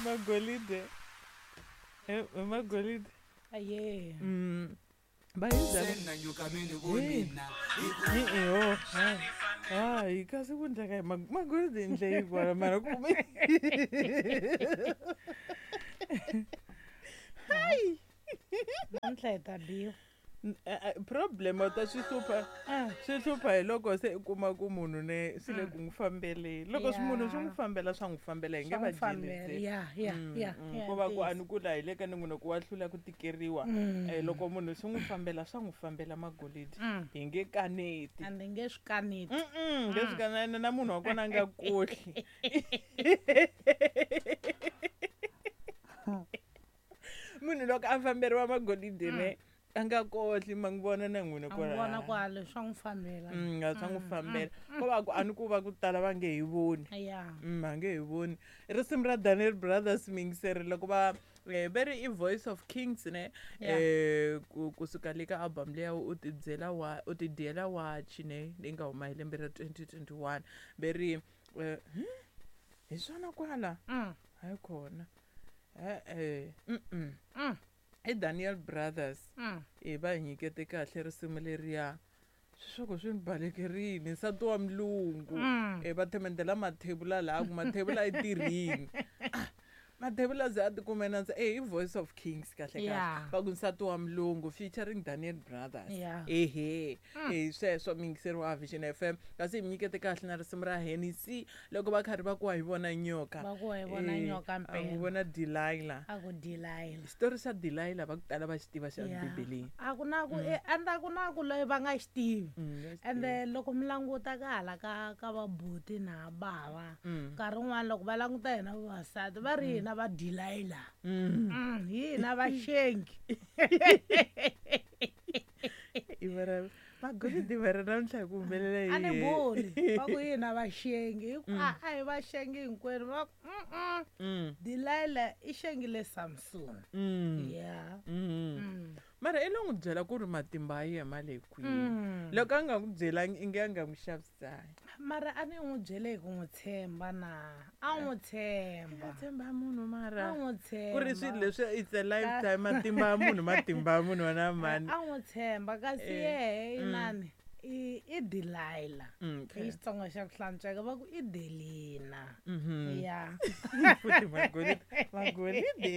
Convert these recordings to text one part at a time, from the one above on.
Magolide. Magolide. Aye. Va hi byela. E-e, hayi kasi ku ndleka hi magolide ndle yi kwala mara ku hayi namuntlha hi ta biwa. Problem ta swi hlupha, swi hlupha hi loko se u kuma ku munhu ne swi le ku n'wi fambeleni. Loko swi munhu swi n'wi fambela, swa n'wi fambela, hi nge va jelisi. Ko va ku a ni ku laha hi le ka ni ku wa hlula ku tikeriwa. Loko munhu swi n'wi fambela, swa n'wi fambela magolidi, hi nge kaneti. A ni nge swi kaneti. Nge swi kaneti na munhu wa kona a nga kohli. Munhu loko a famberiwa magolidi ne a nga kohli, ma n'wi vona na n'wina. A n'wi vona ku a swa n'wi fambela. Swa n'wi fambela. Ko va ku a ni ku va ku tala va nge hi voni. Va nge hi voni. Risimu ra Daniel Brothers miyingiseri loko va ve ri i Voice of Kings ne, kusuka le ka album leya u ti byela wa u ti dyela wachi ne, leyi nga huma hi lembe ra 2021. Ve ri hi swona kwala. Hayi khona. E-e. I Daniel Brothers. Va hi nyikete kahle risimu leriya. Swiswaku swi ni balekerini nsati wa mulungu. Va themendela mathebula laha ku mathebula i tirhini. Mathebula ze a tikume na i Voice of Kings kahle kahle. Va ku nsati wa mulungu featuring Daniel Brothers. Ehe. Sweswo miyingiseri wa Vision FM. Kasi hi mi nyikete kahle na risimu ra Hennessy loko va karhi va ku wa hi vona nyoka. Va ku wa hi vona nyoka A n'wi mpela. vona Delilah. A ku Delilah. Xitori xa Delilah va ku tala va xi tiva xa Bibeleni. A ku na ku ende a ku na ku loyi va nga xi tivi. Ende loko mi languta ka hala ka vabuti na bava, nkarhi wun'wani loko va languta hina vavasati va ri hina va Delilah. Hi hina vaxengi. I vara magolidi va ri namuntlha hi ku humelela A ni yini? voni va ku hina vaxengi, hi ku a hi vaxengi hinkwenu. Va ku Delilah i xengile Samson. Mara i lo n'wi byela ku ri matimba ya yena ma le kwihi. Loko a nga n'wi byelangi i nge a nga n'wi xavisangi. Mara a ni n'wi byele hi ku n'wi tshemba na. A n'wi tshemba. A tshemba munhu mara. A n'wi tshemba. Ku ri swilo leswi it's a lifetime, matimba ya munhu, matimba ya munhu wa na mani. A n'wi tshemba kasi yehe inani i Delilah. Hi Xitsonga xa ku hlantsweka va ku i Delina. Futhi magolide, magolide.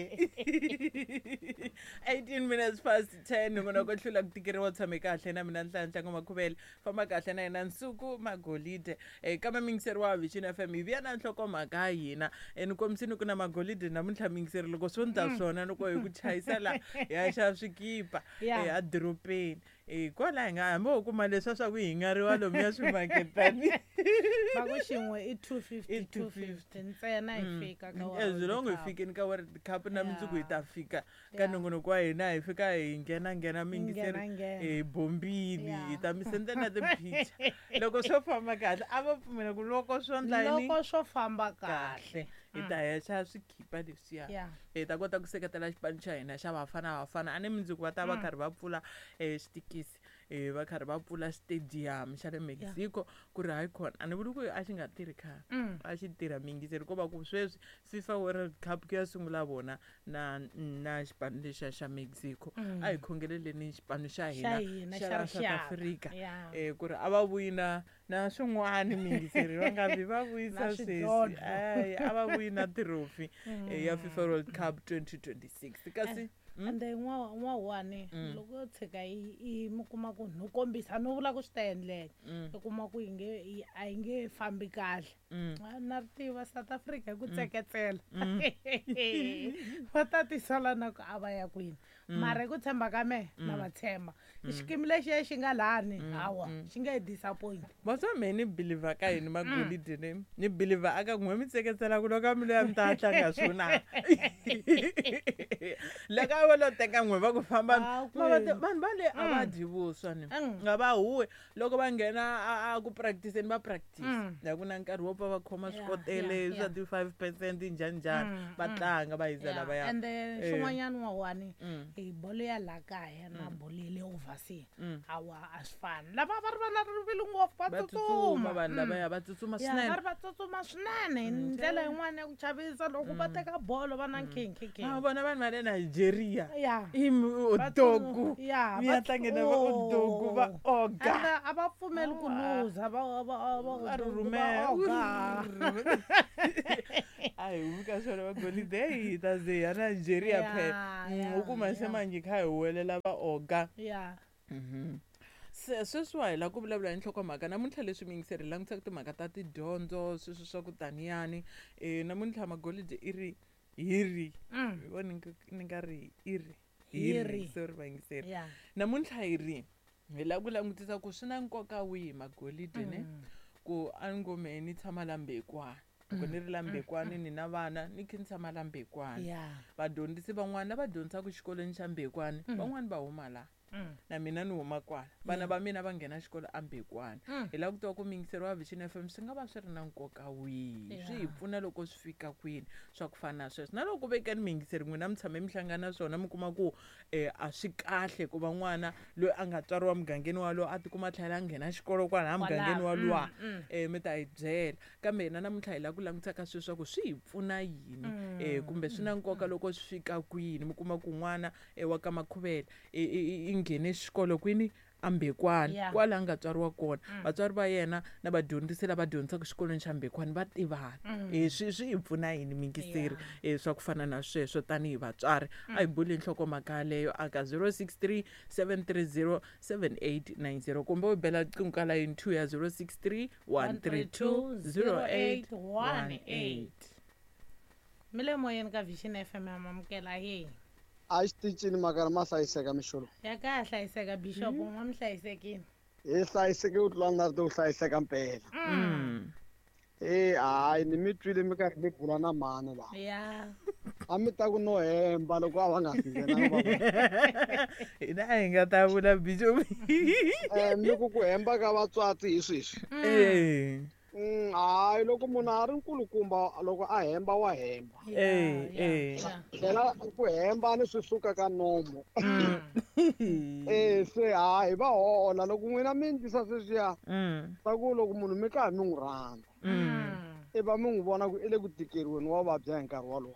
18 minutes past 10 n'wina ko hlula ku tikeriwa tshame kahle na mina Nhlanhla Ngoma-Khubele. Famba kahle na yena Nsuku Magolide. Kambe miyingiseri wa Vision FM hi vuya na nhlokomhaka ya hina. Ni kombisini ku na magolide namuntlha miyingiseri loko swo ndla swona loko hi ku chayisa la hi ya xava swikipa a dorobeni. Kwala hi nga hambi ho kuma leswiya swa ku hi ngariwa lomuya swimaketani. Va ku xin'we i 250, I two fifty ntsena hi fika ka As World long hi Cup. fikini ka World Cup na mundzuku hi ta fika ka nongonoko wa hina, hi fika hi nghena nghena miyingiseri, Nghena, nghena. hi bombini, hi ta mi sendela na ti-picture. Loko swo famba kahle a va pfumela ku loko swo ndla yini? Loko swo famba kahle. Kahle. Hi ta ya xava swikipa leswiya. Hi ta kota ku seketela xipano xa hina xa Bafana Bafana. A ni mundzuku va ta va karhi va pfula xitikisi, va karhi va pfula stadium xa le Mexico ku ri hayi khona. A ni vuli ku a xi nga tirhi khale. A xi tirha miyingiseri ko va ku sweswi FIFA World Cup ku ya sungula vona na xipano lexiya xa Mexico. A hi khongeleleni xipano xa Xa hina hina, xa xa la South rixaka. Africa. Ku ri a va vuyi na swin'wana miyingiseri va nga vi va vuyisa Na sweswi. swidlodlo. Ai, a va vuyi na trophy ya FIFA World Cup 2026. Kasi Ende n'wawani loko yo tshika i mi kuma ku no kombisa no vula ku swi ta endleka. I kuma ku a yi nge fambi kahle. Na ri tiva South Africa hi ku tseketsela. Va ta tisala na ku a va ya kwini. Mara hi ku tshemba ka mehe na va tshemba. Xikimi lexiya xi nga lani, hawa, xi nge hi disappoint. Va swa mehe ni believer ka yini magolide ne? Ni believer aka n'we mi tseketsela ku loko a mi loyi a mi ta tlanga swona. Loko A va lo teka n'we va ku famba vanhu va le a va dyi vuswa ni nga va huwe loko va nghena a ku practice-ni va practice ya ku na nkarhi wo pfa va khoma swikotele swa ti 5% njhani njhani va tlanga va yiza lavaya. And xin'wanyana wawani hi bolo ya la kaya na bolo ya le overseas awa a swi fani. Lava va ri va na rivilo ngopfu va tsutsuma vanhu lavaya va tsutsuma swinene. Va ri va tsutsuma swinene hi ndlela yin'wana ya ku chavisa loko va teka bolo va na nkhinkhi. A vona vanhu va le Nigeria i Odogu ya tlange na va Odogu va oga a va pfumeli ku luza va rhumela a hi humi ka swona va golide hi ta ze ya Nigeria phela u kuma se manje kha hi huwelela va oga. Se sweswiwa hi lava ku vulavula hi nhlokomhaka namuntlha leswi miyingiseri hi langutisaka timhaka ta tidyondzo sweswi swa ku taniyani namuntlha magolide i ri hi ri voni ni nga ri i ri hi ri sorry vayingiseri namuntlha hi ri hi lava ku langutisa ku swi na nkoka wihi magolide ne ku a ni ngo mehe ni tshama la Mbekwana loko ni ri la Mbekwana ni na vana ni khe ni tshama la Mbekwana vadyondzisi van'wana lava dyondzisaka xikolweni xa Mbekwana van'wani va huma la na mina ni huma kwala vana va mina va nghena xikolo a Mbekwana hi lava ku tiva ku miyingiseri wa Vision FM swi nga va swi ri na nkoka wihi swi hi pfuna loko swi fika kwini swa ku fana na sweswo na loko ku vekeni miyingiseri n'wina mi tshame mi hlangana swona mi kuma ku a swi kahle ku va n'wana loyi a nga tswariwa mugangeni walowo a tikuma a tlhela a nghena xikolo kwalaha mugangeni waluwa mi ta hi byela kambe hina namuntlha hi lava ku langutisa ka sweswo swa ku swi hi pfuna yini kumbe swi na nkoka loko swi fika kwini mi kuma ku n'wana wa ka Makhuvele i nghene xikolo kwini a Mbekwana kwala a nga tswariwa kona vatswari va yena na vadyondzisi lava dyondzisaka xikolweni xa Mbekwana va tivana swi hi pfuna yini mingiseri swa ku fana na sweswo tanihi vatswari a hi buli nhlokomhaka yaleyo aka 063 730 7890 kumbe u bela riqingho ka layini 2 ya 063 132 0818. Mi le moyeni ka Vision FM ya mamukela hi a xitichini makara ma hlayiseka mixolo ya ka hlayiseka Bishop n'wa mi hlayisekile hi hlayiseke u tlula na ri to hlayiseka mpela hayi ni mi twile mi karhi mi bula na mhani laha a mi ta ku no hemba loko a va nga si nghena hina a hi nga ta vula Bishop mi ku ku hemba ka vatswatsi hi sweswi hayi loko munhu a ri nkulukumba loko a hemba wa hemba tlhela ku hemba ni swi suka ka nomo se hayi va hola loko n'wina mi ndlisa sweswiya swa ku loko munhu mi karhi mi n'wi rhandza i va mi n'wi vona ku i le ku tikeriweni wa vabya hi nkarhi wolowo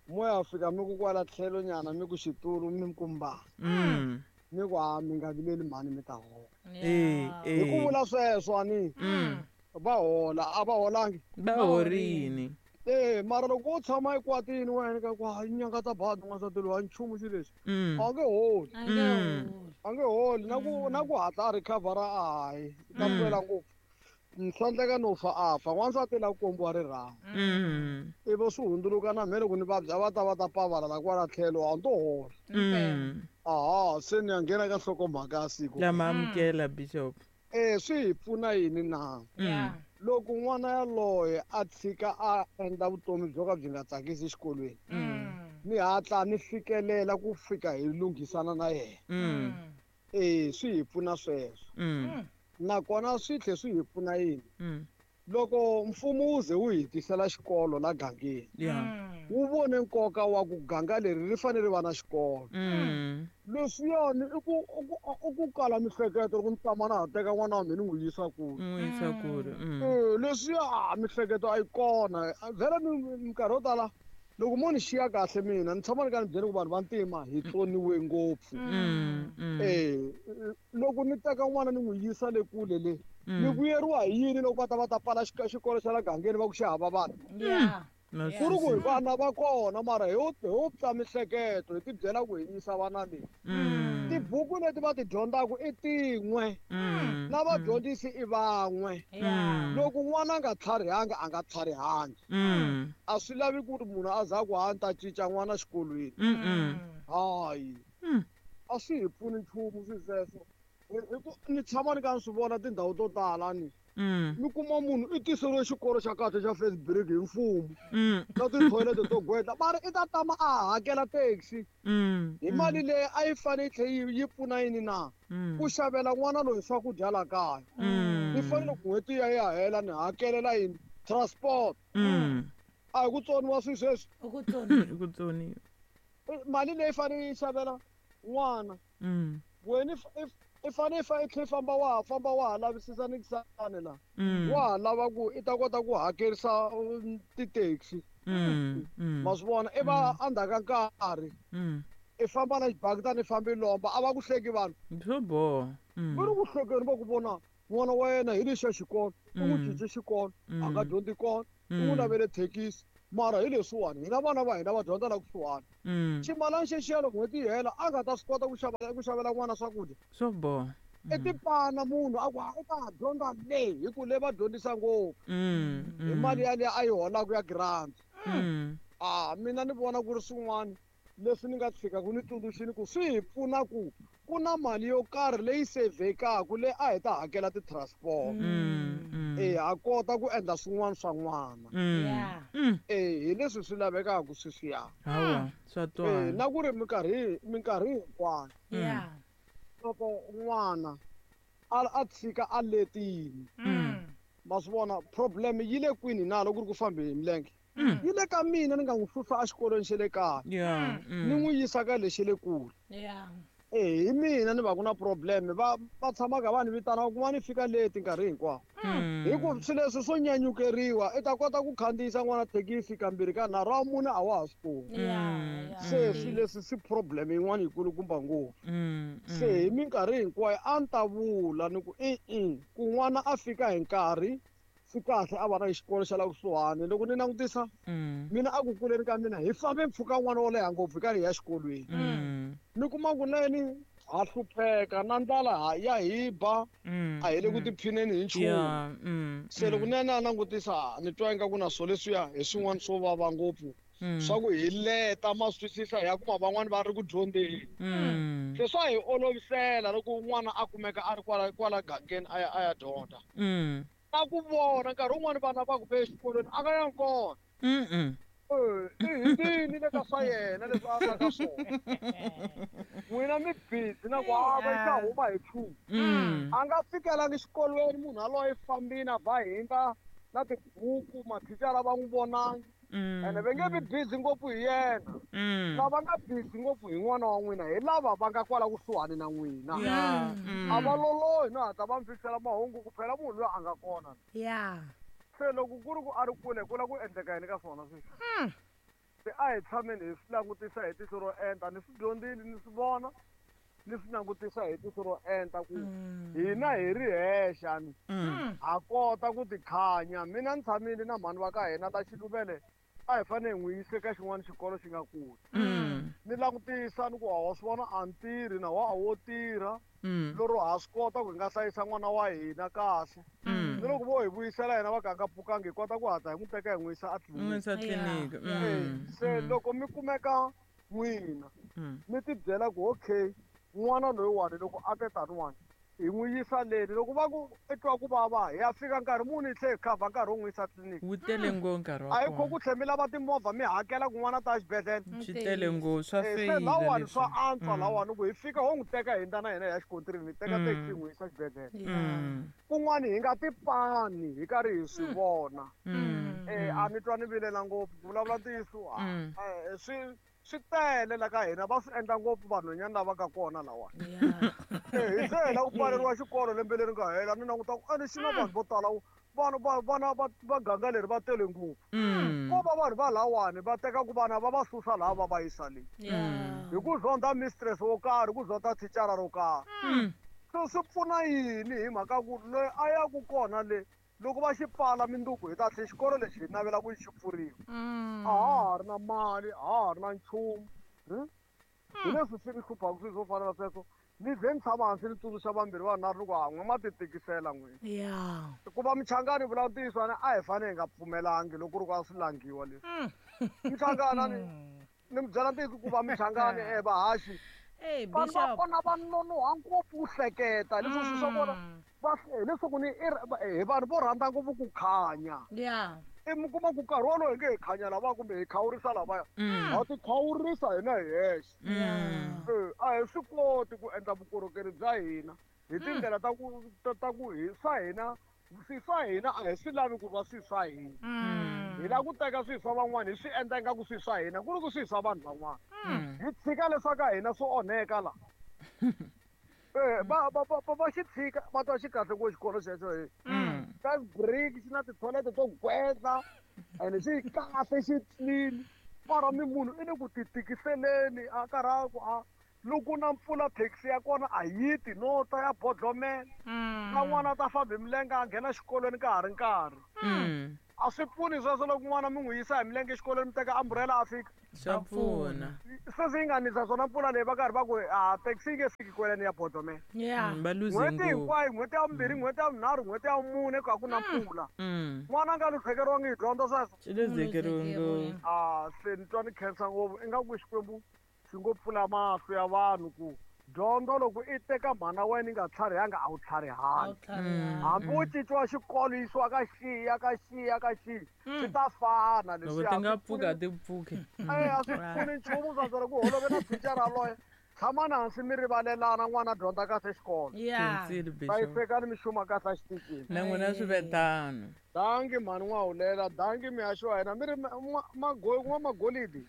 moya fika mi ku kwala tlhelo nyana mi ku xitulu mi kumba mi ku a mi nga vileli mhani mi ta hola hi ku vula sweswo ani va hola a va holangi va horini mara loko u tshama ekwatini wena ka ku hayi nyanga ta badi n'wansati loyi a nchumu xi lexi a nge holi a nge holi na ku hatla a recover-a a hayi ta pfela ngopfu swa endleka no fa a fa n'wansati la ku kombiwa rirhandzu ivi swi hundzuluka na mhe loko ni vabya va ta va ta pavala la kwala tlhelo a ni to hola aha se ni ya nghena ka nhlokomhaka ya siku lama amukela Bishop swi hi pfuna yini na loko n'wana yaloye a tshika a endla vutomi byo ka byi nga tsakisi exikolweni ni hatla ni fikelela ku fika hi lunghisana na yena swi hi pfuna sweswo nakona swi tlhe swi hi pfuna yini loko mfumo wu ze wu hi tisela xikolo la gangeni wu vone nkoka wa ku ganga leri ri fanele ri va na xikolo leswiyani i ku kala mihleketo loko ni tshama na ha teka n'wana wa mina ni n'wi yisa kule leswiya mihleketo a yi kona vhele minkarhi yo tala loko mo ni xiya kahle mina ni tshama ni ka ni byele ku vanhu va ntima hi tsoniwe ngopfu loko ni teka n'wana ni n'wi yisa le kule le ni vuyeriwa hi yini loko va ta va ta pfala xikolo xa la gangeni va ku xi hava vana ku ri ku hi vana va kona mara hi ho pfa mihleketo hi ti byela ku hi yisa vana leyi tibuku leti va ti dyondzaka i tin'we na vadyondzisi i van'we loko n'wana a nga tlharihangi a nga tlharihangi a swi lavi ku ri munhu a za ku ha ni ta cinca n'wana xikolweni hayi a swi hi pfuni nchumu swi sweswo hi ku ni tshama ni ka ni swi vona tindhawu to tala ni Mi kuma munhu i tiseriwe xikolo xa kahle xa first break hi mfumo na tithoyilete to gwetla, mara i ta tama a hakela taxi hi mali leyi a yi fanele yi tlhe yi pfuna yini na ku xavela n'wana loyi swakudya la kaya. Ni fanele ku n'hweti ya ya hela ni hakelela yini transport. A hi ku tsoniwa swi sweswi, I ku tsoniwa. I ku tsoniwa. Mali leyi fanele yi xavela n'wana wena i fanele i tlhe i famba wa ha famba wa ha lavisisa ni kisani la wa ha lava ku i ta kota ku hakerisa ti-taxi. Ma swi vona i va endzhaku ka nkarhi i famba na xibakitani i fambi lomba, a va ku hleki vanhu. Swo boha. Va ri ku hlekeni va ku vona n'wana wa yena hi lexiya xikolo, i n'wi cince xikolo, a nga dyondzi kona, i n'wi lavele thekisi, mara hi leswiwani hina vana va hina va dyondza la kusuhani. Ximalani xexiya loko n'hweti yi hela a nga ta swi kota ku xavela n'wana swakudya. Swo boha. I tipana munhu a ku i ta dyondza le hi ku le va dyondzisa ngopfu hi mali yaliya a yi holaka ya grant. Mina ni vona ku ri swin'wana leswi ni nga tshikaka ni tsundzuxini ku swi hi pfuna ku ku na mali yo karhi leyi sevhekaku leyi a hi ta hakela ti-transport. Ha kota ku endla swin'wana swa n'wana. Hi leswi swi lavekaka sweswiya. Hawa, swa twala. Na ku ri minkarhi hinkwayo. Loko n'wana a tshika a letini. Ma swi vona problem yi le kwini na loko ku ri ku fambe hi milenge. Yi le ka mina ni nga n'wi susa exikolweni xa le kaya. Ni n'wi yisa ka lexi le kule. Hi mina ni va ku na problem, va tshamaka va ni vitana ku va ni fika late nkarhi hinkwawo. Hi ku swilo leswi swo nyanyukeriwa i ta kota ku khandziyisa n'wana thekisi kambirhi ka nharhu wa mune a wa ha swi koti. Se swilo leswi swi problem yin'wana yikulukumba ngopfu. Se hi minkarhi hinkwayo a ni ta vula ni ku ku n'wana a fika hi nkarhi swi kahle a va na xikolo xa la kusuhani. Loko ni langutisa mina a ku kuleni ka mina hi fambe mpfhuka n'wana wo leha ngopfu hi karhi hi ya xikolweni. Ni kuma ku neni ha hlupheka na ndlala ya hi ba, a hi le ku tiphineni hi nchumu. Se loko ni ya langutisa ni twa ingaku na swo leswiya hi swin'wana swo vava ngopfu swa ku hi leta ma swi twisisa hi ya kuma van'wani va ri ku dyondzeni. Se swa hi olovisela loko n'wana a kumeka a ri kwala gangeni a ya dyondza. Na ku vona nkarhi wun'wani vana va ku ve exikolweni a nga yangi kona. I hindzini le ka swa yena leswi a nga ka swona. N'wina mi busy na ku hava yi ta huma hi 2. A nga fikelangi xikolweni munhu yaloye fambini a ba hindza na tibuku mathicara va n'wi vonangi. Ene va nge vi busy ngopfu hi yena. Lava nga busy ngopfu hi n'wana wa n'wina hi lava va nga kwala kusuhani na n'wina. A va lolohi no hatla va mi fikisela mahungu ku phela munhu loyi a nga kona. Se loko ku ri ku a ri kule ku la ku endleka yini ka swona sweswi? Se a hi tshameni hi swi langutisa hi tihlo ro enta, ni swi dyondzile ni swi vona, ni swi langutisa hi tihlo ro enta ku hina hi ri hexa ni ha kota ku tikhanya. Mina ni tshamile na mhani wa ka hina ta Xiluvele a hi fanele hi n'wi yise ka xin'wana xikolo xi nga kule. Ni langutisa ni ku wa swi vona a ni tirhi na wa a wo tirha. Lero ha swi kota ku hi nga hlayisa n'wana wa hina kahle. Ni loko vo hi vuyisela hina va ka nga pfukangi hi kota ku hatla hi n'wi teka hi n'wi yisa a tliliniki. Se loko mi kumeka n'wina mi ti byela ku okay n'wana loyiwani loko a te taniwani hi n'wi yisa leni, loko va ku i twa ku vava hi ya fika nkarhi muni hi tlhe hi khavha nkarhi wo n'wi yisa tliliniki. Wu tele ngopfu nkarhi wa kona. A hi kho ku tlhe mi lava timovha mi hakela ku n'wana ta xibedhlele. Swi tele ngopfu swa feyila. Se lawani swa antswa lawani ku hi fika ho n'wi teka hi hindza na hina hi ya xikontirini hi teka taxi hi n'wi yisa xibedhlele. Kun'wani hi nga tipani hi karhi hi swi vona. A ni twa ni vilela ngopfu ku vulavula ntiyiso swi tele la ka hina va swi endla ngopfu vanhwanyana lava ka kona lawa. Hi se hela ku pfaleriwa xikolo lembe leri nga hela ni languta ku ene xi na vanhu vo tala vanhu vana va ganga leri va tele ngopfu. Ko va vanhu va lawani va teka ku vana va va susa laha va va yisa le. Hi ku zonda mistress wo karhi, ku zonda thicara ro karhi. So swi pfuna yini hi mhaka ku loyi a ya ku kona le loko va xi pfala minduku hi ta tlhe xikolo lexi hi navela ku xi pfuriwa. A ha ha ri na mali, a ha ha ri na nchumu. Hi leswi swi ni hluphaka swilo swo fana na sweswo. Ni ze ni tshama hansi ni tsundzuxa vambirhi vanharhu ni ku ha n'we ma ti tikisela n'wina. Ku va Michangani vula ntiyiso a hi fanele hi nga pfumelangi loko ku ri ku a swi langiwa leswi. Michangani ni mi byela ntiyiso ku va Michangani vahaxi. Vanhu va kona va nonoha ngopfu ku hleketa leswi swi swa kona hileswaku ni hi vanhu vo rhandza ngopfu ku khanya. I mi kuma ku nkarhi wolowo hi nge hi khanya lavaya kumbe hi khawurisa lavaya, ha ti khawurisa hina hi hexe. A hi swi koti ku endla vukorhokeri bya hina hi tindlela ta ku ta ku hi swa hina swi swa hina a hi swi lavi ku va swi swa hina. Hi lava ku teka swilo swa van'wana hi swi endla ingaku swi swa hina ku ri ku swi swa vanhu van'wana. Hi tshika leswaku ka hina swi onheka la. Va va va va xi tshika va twa xi kahle ku xikolo xexo hi first break xi na ti-toilet to gwedla and xi kahle xi clean mara mi munhu i le ku ti tikiseleni a karhi a ku a loko na mpfula taxi ya kona a yi ti no ta ya bodlomela na n'wana a ta famba hi milenge a nghena xikolweni ka ha ri nkarhi. A swi pfuni sweswo loko n'wana mi n'wi yisa hi milenge exikolweni mi teka umbrella a fika. Swa pfuna. Sweswi yi nga nisa swona mpfula leyi va karhi va ku a taxi yi nge fiki kweleni ya bodlomela. Va luze N'hweti hinkwayo, n'hweti ya vumbirhi, n'hweti ya vunharhu, n'hweti ya vumune ku a ku na mpfula. N'wana a nga luhlekeriwangi hi dyondzo sweswo. Swi luzekeriwe ngopfu. A se ni twa ni khensa ngopfu ingaku Xikwembu xi ngo pfula mahlo ya vanhu ku dyondzo loko i teka mhana wena yi nga tlharihanga a wu tlharihangi. Hambi wo cinciwa xikolo yisiwa ka xiya ka xiya ka xiya swi ta fana leswiya. Loko ti nga pfuki a ti pfuki. A swi pfuni nchumu swa ku holove na thicara yaloye. Tshamani hansi mi rivalelana n'wana a dyondza kahle xikolo. Hlayisekani mi xuma kahle exitichini. Na n'wina swi ve tano. Danki mhani N'wahulela, danki mihaxi wa hina mi ri n'wamagolidi.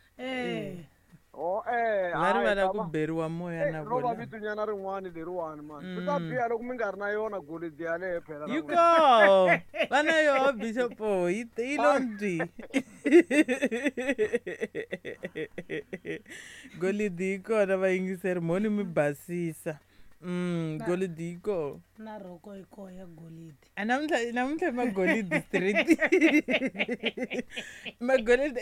Oh, eh, Va rivala ku beriwa moya na vona. Ro va vitunyana rin'wana leriwani mani. Swi ta biha loko mi nga ri na yona golidi yaleyo phela. Yi koho. Va na yoho Bishop yi yi lo ndzi. Golidi yi kona vayingiseri mhoni mi basisa. Golidi yi koho. Na rhoko yi koho ya golidi. A namuntlha namuntlha i magolidi street. Magolidi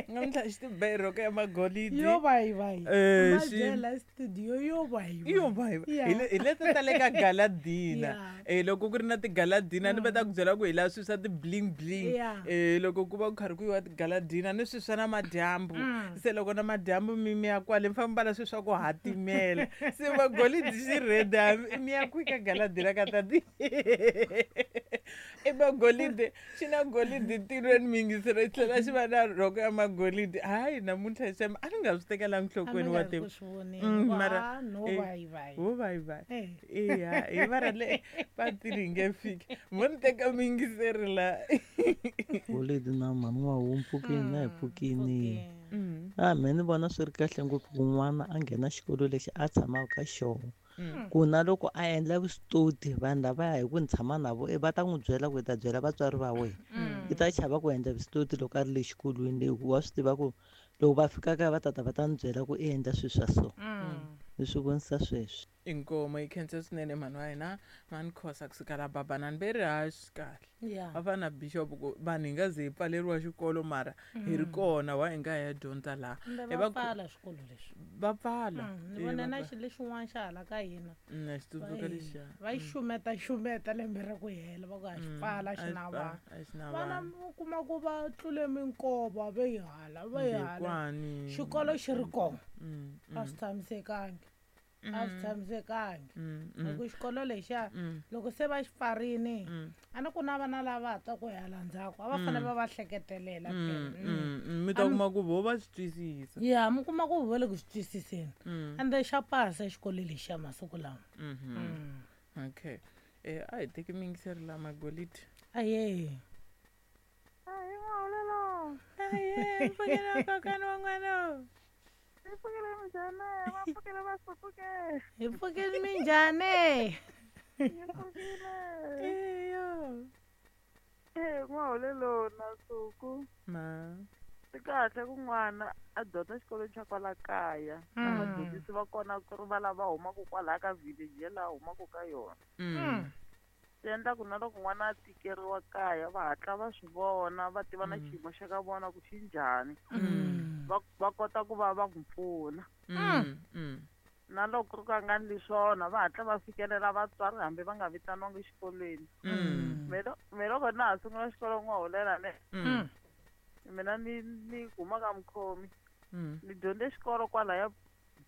namuntlha xi ti ba hi rhoko ya magolidi. Yo vayivayi. Eh, Ma xi- byela studio yo vayivayi. Yo vayivayi. Yeah. Hi le hi leti ta le ka gala dinner. Yeah. Eh loko ku ri na ti-gala dinner ni va ta ku byela ku hi la swilo swa ti-bling bling. Yeah. Eh loko ku va ku karhi ku yiwa ti-gala dinner ni swilo swa namadyambu. Se loko namadyambu mi mi ya kwale mi fanele mi mbala swilo swa ku hatimela. Se magolidi xi ready hambi mi ya kwihi ka gala dinner ka tati. I magolidi xi na golidi ntirhweni mi yingisela xi tlhela xi va na rhoko ya magolidi. Hayi namuntlha xem a ni nga swi tekelangi nhlokweni wa tiva. Mara no eh, vayivayi. wo vayivayi. Eh. Eya hi vara le patini hi nge fiki. Mo ni teka muyingiseri la. Golidi na mhani wa wu mpfukini na hi pfukini. A me ni vona swi ri kahle ngopfu ku n'wana a nghena xikolo lexi a tshamaka ka xona. Ku na loko a endla vuswitoti vanhu lavaya hi ku ni tshama na vo va ta n'wi byela ku hi ta byela vatswari va wena. I ta chava ku endla vuswitoti loko a ri le xikolweni le hikuva wa swi tiva ku loko va fika kaya va tata va ta ni byela ku i endla swilo swa so. Ni swi vonisa sweswi. Inkomo yi khensa swinene mhani wa hina mhani Khosa kusuka la Babanani ve ri ha swi kahle. Yeah. Va fana na bishop ku vanhu hi nga ze hi pfaleriwa xikolo mara hi ri kona wa hi nga ya dyondza laha. Kumbe Hi va va pfala swikolo leswi. Va pfala. Ni vone na xilo lexin'wana xa hala ka hina. Na xi tsundzuka lexiya. Va yi xumeta xumeta lembe ra ku hela va ku a xi pfala xi na vanhu. A xi na Vana vanhu. u kuma ku va tlule minkova ve yi hala ve yi hala. Ndekwani. Xikolo xi ri kona. A swi tshamisekangi. A swi tshamisekangi. Hi ku xikolo lexiya loko se va xi pfarini a ni ku na vana lava ha ta ku hala ndzhaku a va fanele va va hleketelela phela. Mi ta kuma ku vo va swi twisisa. Ya mi kuma ku va le ku swi twisiseni. Ende xa pasa xikolo lexiya masiku lama. Okay. A hi teki miyingiseri la magolidi. Aye. Aye, mpfukela kokwana wa n'wana. Hi pfukile minjhani? Eyo. N'waholelo na Suku. Ma. Swi kahle ku n'wana a dyondza xikolweni xa kwala kaya. Na vadyondzisi va kona ku ri va lava humaka kwalaya ka village ya laha humaka ka yona. Swi endla ku na loko n'wana a tikeriwa kaya va hatla va swi vona va tiva na xiyimo xa ka vona ku xi njhani. Va kota ku va va n'wi pfuna. Na loko ku ri ka nga endli swona va hatla va fikelela vatswari hambi va nga vitaniwangi exikolweni. Me loko na ha sungula xikolo n'wahulela ne. Mina ni ni huma ka mukhomi. Ni dyondze xikolo kwalaya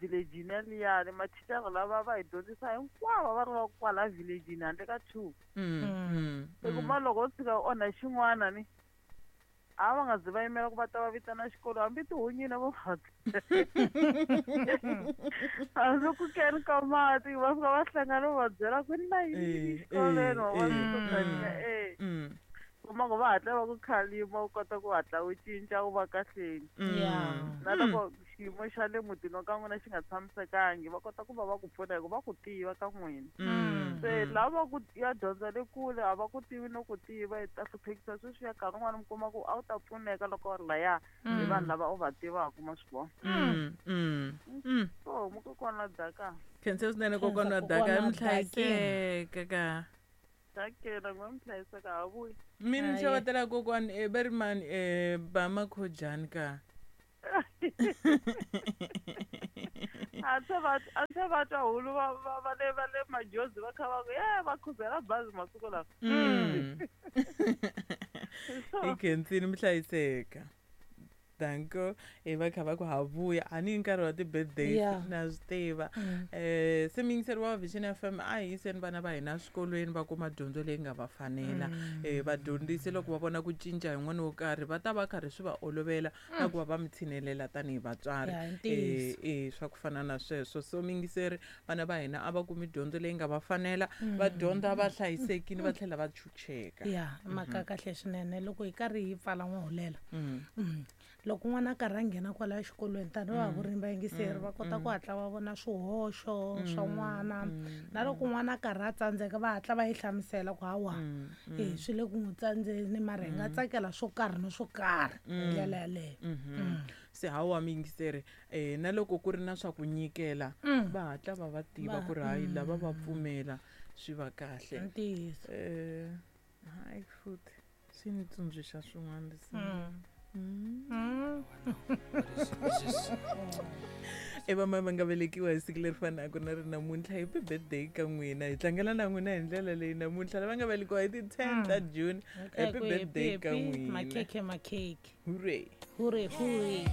Village yaliyani mathicara lava va hi dyondzisa hinkwavo va ri va kwala village handle ka 2. I kuma loko u tshika u onha xin'wana ni a va nga zi va yimela ku va ta va vitana xikolo hambi tihunyini vo hambi ku keni ka mati va fika va hlangana va byela ku ni na yini xikolweni wa vona kuma ku va hatla va ku khalima u kota ku hatla u cinca u va kahleni. Na loko xiyimo xa le mutini wa ka n'wina xi nga tshamisekangi va kota ku va va ku pfuna hikuva va ku tiva ka n'wina. Se lava ku ya dyondza le kule a va ku tivi no ku tiva i ta hluphekisa sweswiya nkarhi wun'wani mi kuma ku a wu ta pfuneka loko u ri laya hi vanhu lava u va tivaka ma swi vona. So mukokwana wa Daka. Khensa swinene kokwana wa Daka, mi hlayiseka ka. Dakela n'we mi hlayiseka ha vuyi. Mina ni xavetela kokwani va ri mani ba makhojani ka. A se va twa hulu va le majozi va kha va ku ye va khuzela bazi masiku lawa. I khensini mi hlayiseka. Danko va kha va ku ha vuya a ni nkarhi wa ti-birthdays na swi tiva. Se muyingiseri wa Vision FM a hi yiseni vana va hina eswikolweni va kuma dyondzo leyi nga va fanela. Vadyondzisi loko va vona ku cinca hi n'wana wo karhi va ta va karhi swi va olovela na ku va va mi tshinelela tanihi vatswari. Swa ku fana na sweswo. So muyingiseri vana va hina a va kumi dyondzo leyi nga va fanela, va dyondza va hlayisekile va tlhela va chucheka. Ya mhaka kahle swinene loko hi karhi hi pfala n'wahulela. Loko n'wana a karhi a nghena kwalaya xikolweni tanihi va vurimi vayingiseri va kota ku hatla va vona swihoxo swa n'wana na loko n'wana a karhi a tsandzeka va hatla va yi hlamusela ku hawa swi le ku n'wi tsandzeni mara hi nga tsakela swo karhi na swo karhi hi ndlela yaleyo. Se hawa muyingiseri na loko ku ri na swa ku nyikela va hatla va va tiva ku ri hayi lava va pfumela swi va kahle. Ntiyiso. Hayi futhi swi ni tsundzuxa swin'wana leswi. Evamai va nga velekiwa hi siku leri fanaka na ri namuntlha, happy birthday ka n'wina. Hi tlangela na n'wina hi ndlela leyi namuntlha lava nga velekiwa hi ti 10 ta June, happy birthday ka n'wina. Makhekhe makhekhe. Hooray. Hooray hooray.